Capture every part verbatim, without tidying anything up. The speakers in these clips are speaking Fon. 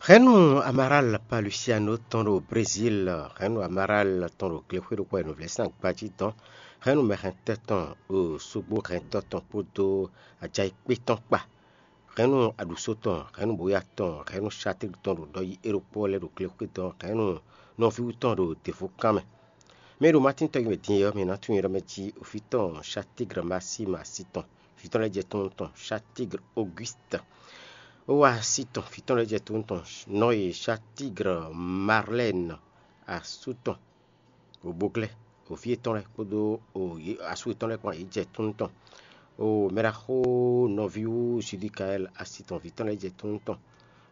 Hɛ̌nnu Amaral Palusiano tɔn ɖo Brezíl, hɛ̌nnu Amaral tɔn ɖo glexwé ɖokpó e nǔvlɛ́sán gbají dɔn, hɛ̌nnu mɛhɛntɔ́ tɔn ɖo sógbó hɛntɔ́ tɔn kpódó ajaikpé tɔn kpa, hɛ̌nnu aɖǔsó tɔn, hɛ̌nnu bóyá tɔn, hɛ̌nnu Satík tɔn ɖo ɖɔ yi é ɖokpó lɛ́ɛ ɖo glexwé dɔn, hɛ̌nnu nɔví wú tɔn ɖo děvú kán mɛ. Mɛ e ɖo Matín tɔn yi mɛ din é ɔ́, mi ná tunwun nyɛ ɖɔ mɛ jí oví tɔn Satígr Masíma asi tɔn, vǐ tɔn lɛ́ɛ jɛ tunwun tɔn Satígr Ogwíst, ó wá asi tɔn, vǐ tɔn lɛ́ɛ jɛ tunwun tɔn Nɔ́ye, Satígr Marlɛ́n asú tɔn, Oboglɛ́, oví yětɔn lɛ́ɛ kpódó asú yětɔn lɛ́ɛ kpán yě jɛ tunwun tɔn. Mɛɖaxó nɔví wú Zudikaɛl asi tɔn, vǐ tɔn lɛ́ɛ jɛ tunwun tɔn.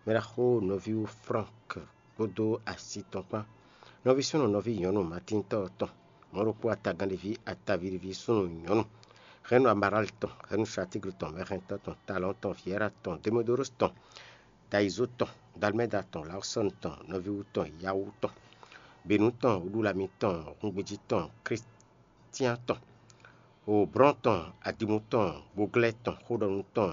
Mɛɖaxó nɔví wú Flánk kpódó asi tɔn kpán. Nɔví súnnu nɔví nyɔ̌nu Matíntɔ́ tɔn, mɔ̌ ɖokpó atagánɖéví atavíɖéví súnnu nyɔ̌nu, hɛ̌nnu Amarál tɔn, hɛ̌nnu Satígl tɔn, mɛhɛntɔ́ tɔn, Talɔ̌n tɔn, Vyɛ́ra tɔn, Demodorus tɔn, Dayizó tɔn, Dalmɛ́da tɔn, Lawsɔ́n tɔn, nɔví wú tɔn, Yawú tɔn, Běnú tɔn, Wǔɖulami tɔn, Hungbejí tɔn, Klístián tɔn, Oblɔ́n tɔn, Adimu tɔn, Boglɛ́ tɔn, Xóɖɔnu tɔn,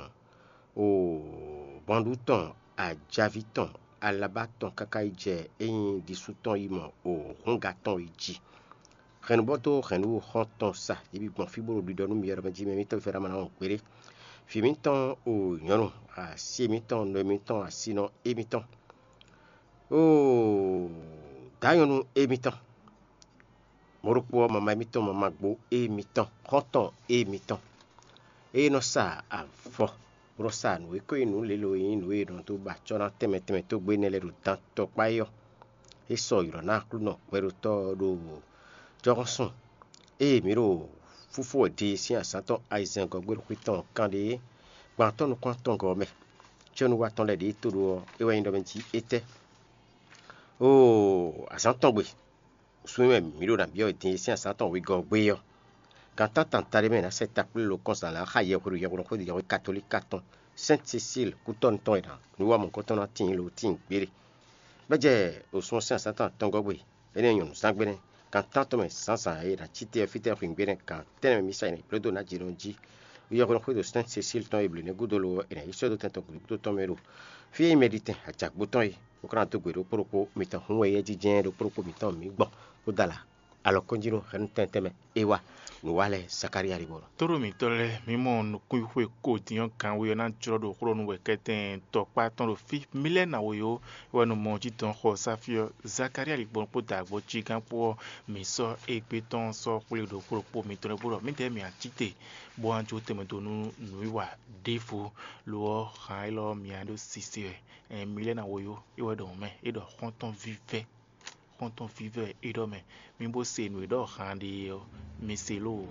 Obanɖú tɔn, Ajaví tɔn, Alabá tɔn káká yi jɛ é nyí ɖisú tɔn yi mɔ Ohúnga tɔn yi jí. Hɛ̌nnubɔ́ dó hɛ̌nnu xɔ́ntɔn sa, yě bǐ gbɔn fí bó ɖo ɖiɖɔ nú myɔ ɖɔ mɛ jí mɛ mitɔn fɛ́ ɖ'amɔ ná wɔn gbeɖé. Vǐ mitɔn o nyɔ̌nu, asi mitɔn, nɔ mitɔn, asinɔ émitɔn, o dǎ nyɔ̌nu émitɔn, mɔ̌ ɖokpó ɔ́, mama émitɔn, mama gbo émitɔn, xɔ́ntɔn émitɔn. Ée nɔ sa avɔ, bó nɔ sa nǔ e ko nyí nǔ lělo e nyí nǔ e è nɔ dó ba acɔ́ ná tɛnmɛ tɛnmɛ tógbé énɛ́ lɛ́ɛ ɖo dan tɔkpá é ɔ́, é sɔ ylɔ̌ ná Aklúnɔ gbɛɖotɔ́ ɔ́ ɖo jɔhɔn sun. Ée mǐ ɖo fúfú wɛ din sín azǎn tɔn ayizɛ́ngɔ́ gbe ɖo xwé tɔn kanɖé gbantɔ́ nukún-atɔngɔ́ ɔ́ mɛ, cɛ́núwa tɔn lɛ́ɛ ɖě e to ɖó ɔ́, é wɛ nyí ɖɔ mɛ jí étɛ́? Oo, azǎn tɔn gbe, sun e mɛ mǐ ɖo nǎ byɔ́ din e sín azǎn tɔn wegɔ́ ɔ́ gbé ɔ́, gan tántanta ɖé mɛ è nǎ sɛ takplé lokɔ́nzán lɛ́ɛ xá yɛhweɖo yɛhweɖo xwédo yɛhwe katolíka tɔn, Sɛ́nti Sesíl kútɔ́nu tɔn e ná nǔ wa mɔ̌hunkɔtɔn ná tíin lo tíin gbére. Bɔ é jɛ wǒsun ɔ́ sín azǎn tɔn atɔngɔ́ gbe, énɛ́ nyɔ̌nu zán gbe nɛ́, gan tántɔn mɛ zǎnzǎn e è nǎ cí te ɔ́ fítɛ́ hwǐngbe nɛ́ gan tɛ́nnɛ mɛ mǐ sa yi nǎ yi bló dó nǎ jǐ nɔ jí. Yɔhwenu xwédo Sɛ́nti Sesíl tɔn e blǒ nɛ́ gúdo lo ɔ́, è nǎ yi sɔ́ dó tɛn tɔn gǔdo tɔn mɛ ɖo fí e nyí mɛɖitɛn ajǎgbó tɔn é, bó ka ná dó gbe ɖokpó ɖokpó mitɔn hun wɛ éyɛ́ jínjɛ́n ɖokpó ɖokpó mitɔn mǐ gbɔn, bó dó alǎ alɔkɔ́njí ɖo hɛ̌nnu tɛntɛn mɛ é wá. Nǔ wa lɛ́ɛ Zakalía ɖi bɔ nɔ. Tóɖó mǐtɔn lɛ́ɛ, mǐ mɔ nukúnxwe ko din ɔ́, gan we ɔ́ ná jlɔ́ ɖo xlɔ́ nú wɛ kɛ́tɛn tɔkpá tɔn ɖo fí. Mǐ lɛ́ɛ ná we ó, é wɛ nɔ mɔ jí dɔn xɔ sáfí ɔ́, Zakalía ɖi gbɔn kpó dǎgbó cí gán kpó ɔ́, mǐ sɔ́ égbé tɔn sɔ́ xwlé ɖo xlɔ́ kpó mitɔn lɛ́ɛ bó ɖɔ mǐdɛɛ mǐ cí te, bó wá jó tɛnmɛ dó nú nǔwiwa ɖěvo. Lo ɔ́, han élɔ́ mǐ ɖó sise wɛ. Ɛn, mǐ lɛ́ɛ ná we ó, é wɛ ɖɔ mɛ, é ɖɔ xɔ́ntɔn vívɛ́, xɔ́ntɔn vívɛ́ é ɖɔ mɛ. Mi bó se nǔ e ɖɔ han ɖe ɔ́, mi se lóo.